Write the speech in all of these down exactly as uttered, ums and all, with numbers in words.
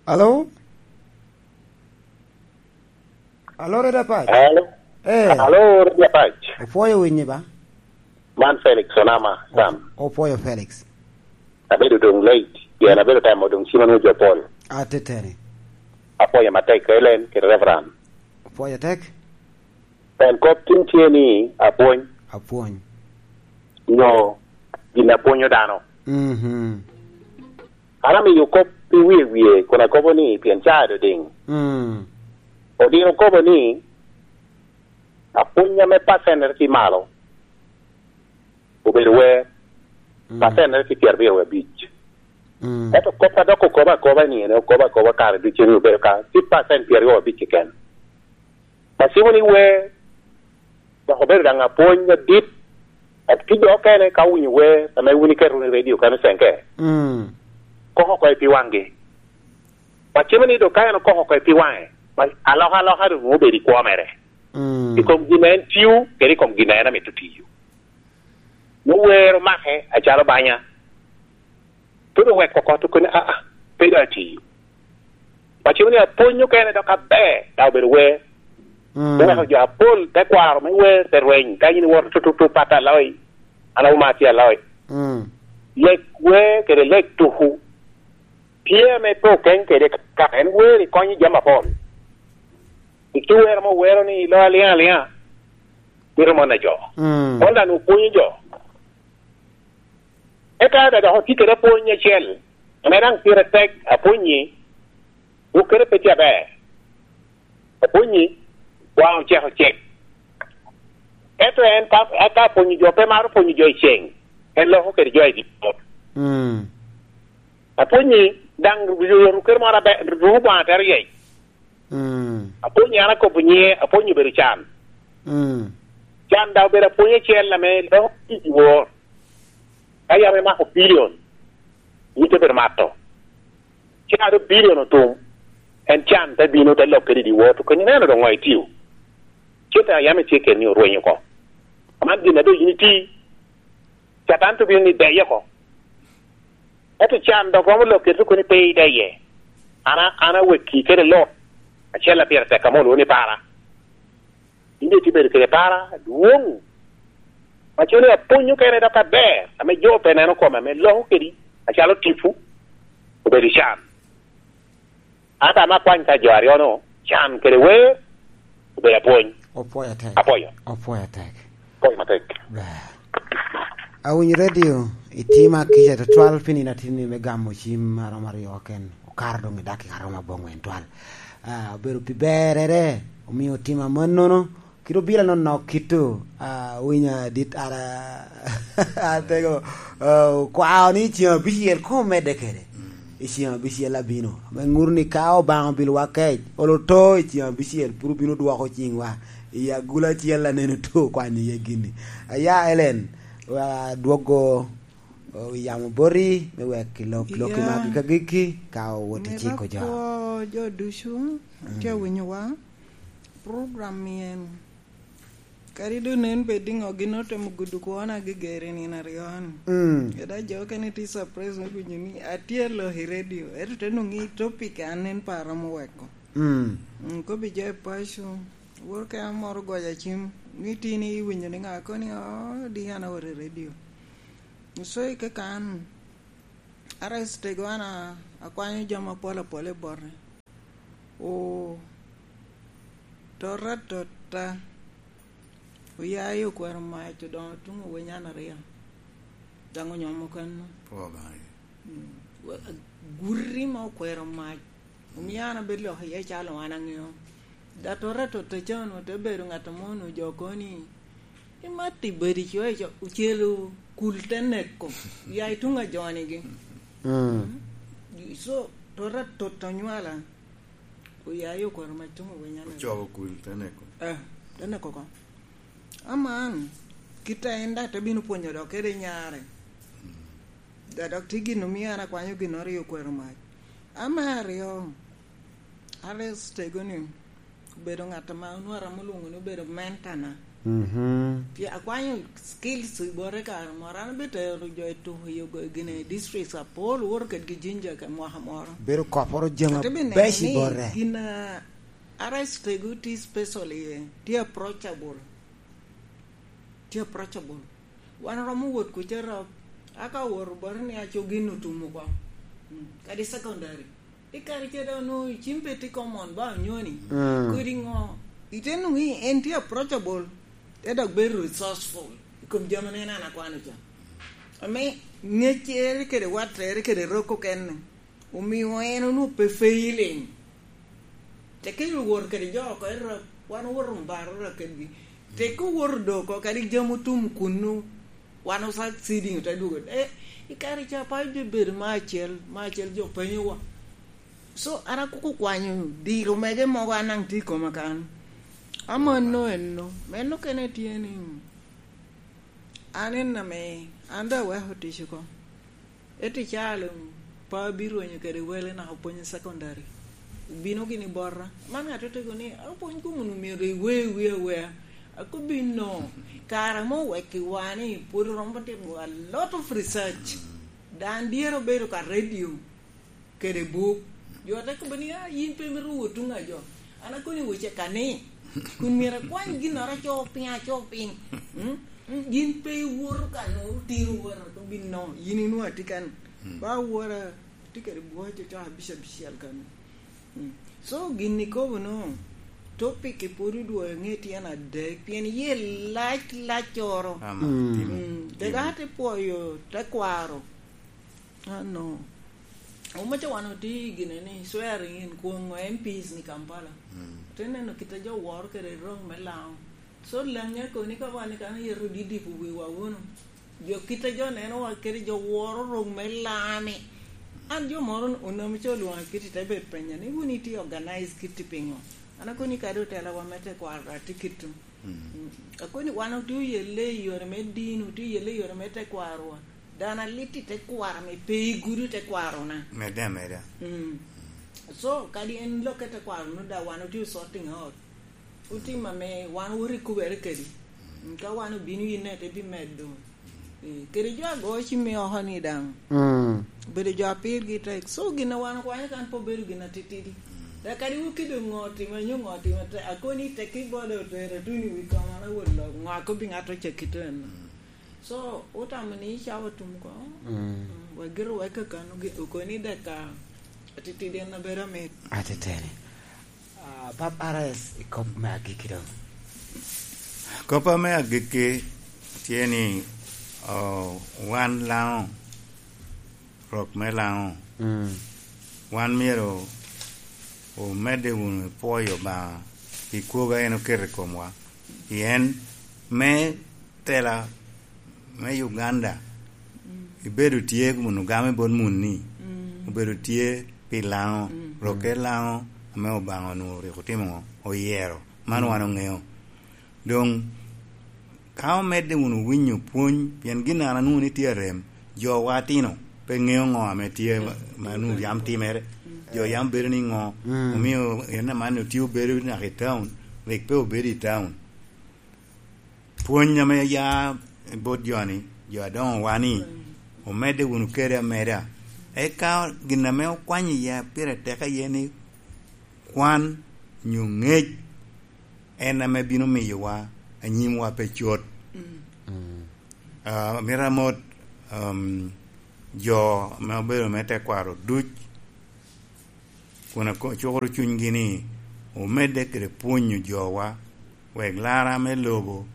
Alo? Alo, Red Apac? Alo? Eh. Alo, Red Apac? Opwoyo winyi ba? Man Felix Onama, Sam. Opwoyo Felix. Abedo doŋ late, pien abedo temo doŋ cima nwoŋo jo pol. Ateteni. Apwoyo matek, Ellen, kede Reverend. Opwoyo tek? Pien kop tin tye ni apwony. Apwony. Nyo gin apwonyo dano. Mhm. An amiyo kop i wie wie, kun akobo ni, pien caa dodiŋ. Mm. Odino kobo ni, apwony ame pacennere tye malo, obedo wer, mm, pacennere tye pyerabiro wie abic. Mm. Ento kop a dok okobo akoba ni, en okobo akoba kare ducu ni obedo ka, tye pacen pyeraryo wie abic keken. Pacimo ni wer, dok obedo daŋ apwony adit, ento tye jo okene ka owinyo wer, ame wun iketo wunu i redio kano cenge, mm, koko oko i pi waŋgi. Pacimo ni dok ka en okoko oko i pi waŋe, ma alokaloka doŋ nwoŋo obedo i kwo mere. Mm. I kom gin a en tio, kede i kom gin a en amito tiyo. Me wer omake acalo banya. Pud oweko oko tuko ni, "Aa, pe doŋ atiyo." Pacimo ni apwony okene dok aber, daŋ obedo wer. Mm. Oweko jo apol te kwaro me wer, te rweny. Ka yin iwoto tututu, pat aloyi, an awuma tye aloyi. Mm. Lek wer kede lek tuku tye ame pe okeny kede kaka en wer i konyo jami apol. Iki wer ame owero ni, "Lo aliŋ aliŋa, mito mone jo." Mm. Mon daŋ opwonyo jo. Eka da dok otye kede apwony acel, ame daŋ pire tek, apwonyi, wok kede pe tye aber. Apwonyi, waŋ ocek ocek. Ento en ka, ka apwonyo jo, pe maro pwonyo jo i ceŋ, en loko kede jo i dyewor. Mm. Apwonyi, daŋ ruk kede moro aber, ruk Obaŋa tero yec. Mm. Apwonyo an akobo nyiŋe, apwonyo obedo can. Mm. Can daŋ obedo apwony acel ame loko i dyewor. Ka yam imako bilion, yin te bedo mato. Cen a doŋ bilion otum, en can te bino, te lok kede i dyewor, to keny ineno doŋ ŋo itio. Cen a yam itye kede-ni orweny oko. Aman gin a doŋ yin iti, Catan te bino ni deye oko. Ento can dok romo lok kede tuko ni pe ideye. An a-, an awekki kede Lot, acel a pire tek ame olwoŋo ni Para. In daŋ itye bedo kede para adwoŋ. Aco ni apwony okene dok aber, ame jo pe neno kome, ame loko kedi acalo tipo, obedo i can. Ento ame akwany ka jo aryo-nu, can kede wer, obedo apwony. Opwoyo atek. Apwoyo. Opwoyo atek. Apwoyo matek. Ber. Awinyo redio, itima kica tutwal pi nino atin-ni me gamo cim aromo aryo keken. Okato doŋ i dakika aromo abongwen twal. Ah, obedo pi berrere, omio otima mannono. Kit obila nonok kito, ah, winyo adit ara, atego, ah, okwao ni i ceŋ abicel koŋ omedde kede. I ceŋ abicel abino. Ame ŋuto ni ka Obaŋa obilowa kec, olo to i ceŋ abicel, pwod obino dwoko ciŋwa. I agula acel aneno to kwanyo iye gini. Aya, Ellen, wa dwogo, o, yamo boti, me wek ilok, lok i magi ka gikki, ka owot i ciko jo. Mito kwo jo ducu, mm, tye awinyowa. Program-mi en, kadi doŋ nen bed iŋo, gin otemo gudo kwona gigero i nino aryo-ni. Mm. Kadi jo okene tye surprise me winyo ni atye alok i radio, ento te nwoŋo i topic an nen pe aromo weko. Mm. Mm, kobbi jo i paco, woro kena moro goyo acim, ni tin iwinyo ni ŋa koni, "Oh, di an awoto i radio." So, i kaka an, arest tego an a-, akwanyo jami apol apol i bote. O, tota tota. Oya i okwero mac odoŋo tuŋ owenyan aryo. Daŋ onyomo keno. Pwo Obaŋa. Mm. Wa-, guti ma okwero mac. Omio an abedo lok iye calo an aŋeo. Da tota tota can ote bedo ŋat amo onwoŋo jo kono ni, "Imat i badi co, ico, ocelo kul te neko, ya i tuŋ ajonigi." Mm. Mm. So, tota tota onywala, oya i okwero mac tuŋ owenyan. Ocobo kul te neko. Eh, te neko ko. Aman, kit a en daŋ te bino pwonyo dok kede nyare. Mm. Da dok tye gin omio an akwanyo gin oryo okwero mac. Ama aryo, Alex tego ni obedo ŋat ame onwara mulwoŋo ni obedo mentana. Mhm. Pien akwanyo skills i bote kare moro, an abitero jo i tuko i ogo-, gine districts apol, owoto kedgi Jinja ka mwaka moro. Bedo koporo jami abeco i bote. Gin a R S tego tye special iye, tye approachable. Tye approachable. Wan romo wot kuca rok, aka wot bote ni aco gin otum oko. Mm, kadi secondary. I kare ca dok onwoŋo cim pe tye common ba onyoni. Mm. Kodi ŋo? Ite nwoŋo ni en tye approachable, te dok bedo resourceful i kom jami en an akwano ca. Ame ŋeccere kede wattere kede rok okene, omio en onwoŋo pe failing. Te kelo wot kede jo oko i rok, wan owoto mbaro rok kedgi. Te kowoto do oko, kadi jami otum kunnu, wan o succeeding ote dwogo. Eh, i kare ca pa jo bedo me acel, me acel jo penyowa. So, an akoko kwanyo diro mege mogo an daŋ tye i koma kan. Amanno enno, meno kene tye ni, an en ame, an daŋ aweko tic oko. Ento icaa luŋ, pa abirwenyo kede wele naka opwonyo secondary. Obino gini bota. Man ŋat otego ni, "Apwony kom wunu myero iwe wi awea." Akobbi no, kare ame owekki wa ni pwod romo timo a lot of research. Dan dyere obedo ka radio kede buk. Jo te kobbe ni, "Ah, yin pe imito wot tuŋ a jo." An akoni wece ka ni, kun myero akwany ginnoro aco piny, aco piny. Mm? Mm, yin pe iwoto ka nwoŋo otino wora, to bin no, yin inwoŋo atye kan. Mm. Ba wora, atye kede bwoc ocoko abic abicel kan. Mm. So, gin ikobo no, topic pwod odwogo aŋe tyen adek, pien iye lac laccoro. Ama, mm, timo, mm, timo. Dega te pwoyo tekwaro. Ah, no. Omaca wan otye i gine ni swearing in kwongo M Ps ni Kampala. Mm. Te neno kit a jo woro kede rok me Laŋo. So, Laŋo akoni ka wan kan yero didipo wiwa wunu. Jo kit a jo neno wa kede jo woro rok me Laŋo ni. An jo moro onamo ca olwoŋa kiti te bed penya ni wun itye organize kiti piŋo? An akoni kadi otela wa me tekwaro atye kitu. Mm. Mm. Akoni wan otye oyelle i yore me dino, otye oyelle i yore me tekwarowa. Dano alit i tekwaro ame pe igudo tekwarona. Medde ameda. Mm. So, kadi en lokke tekwaro nu da wan otye sorting out. Otim ame wan woto ikubere kedi. Mm, ka wan obino yinne te bimedo. Eh, kede jo ago cimmi oko ni daŋ. Mm. Obedo jo a pirgi tek. So, gin a wan okwanyo kan pe obedo gin atitidi. Mm. Dok kadi wun kede ŋo otimo, nyo ŋo otimo, te-, akoni tekki bode otero tuno i wi koma na wot lok, ŋo akobbi ŋat ocakki to en. Mm. So, otamo ni cawa tum ko. Mm. Mm, wek giro wek kakano gi-, okoni dek ka atitidi en abedo amit. Ateteni. Ah, Pap R S, i kop me agikki doŋ. Kop me agikki tye ni, oh, wan Laŋo, rok me Laŋo, mm, wan myero omedde wunu i pwoyo Obaŋa pi kwogo a en oketo i komwa. Pien me tela me Uganda, mm, ibedo tye kun ogamo i bot munni, mm, obedo tye pi Laŋo, mm, rokke, mm, Laŋo ame Obaŋa onwoŋo rik otimo ŋo? Oyero. Man, mm, wan oŋeo. Doŋ, ka omedde wunu winyo pwony, pien gin an anwoŋo ni tye arem, jowa atino pe ŋeo ŋo ame tye ma, ma nwoŋo yam timere. Mm. Jo yam bedo ni ŋo, mm, omio en aman otye obedo naka i taun, rik pe obedo i taun. Pwony ame ya bot jo-ni, jo adoŋowa-ni, omedde wunu kede ameda. Eka gin ame okwanyo iya pire tek aye ni kwan nyo ŋec en ame bino miyowa anyimwa pe cot. Mm. Ah, mito amot, um, jo ame obedo me tekwaro duc, kun ako-, cukoro cunygi ni omedde kede pwonyo jowa, wek lara me lobo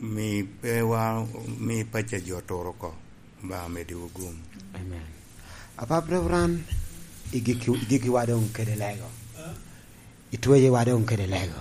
mi pe wa, mi pacci jo tur oko, Obaŋa omeddiwu gum. Amen. Apap Reverend, igikki, igikkiwa doŋ kede lego. Itweyowa doŋ kede lego.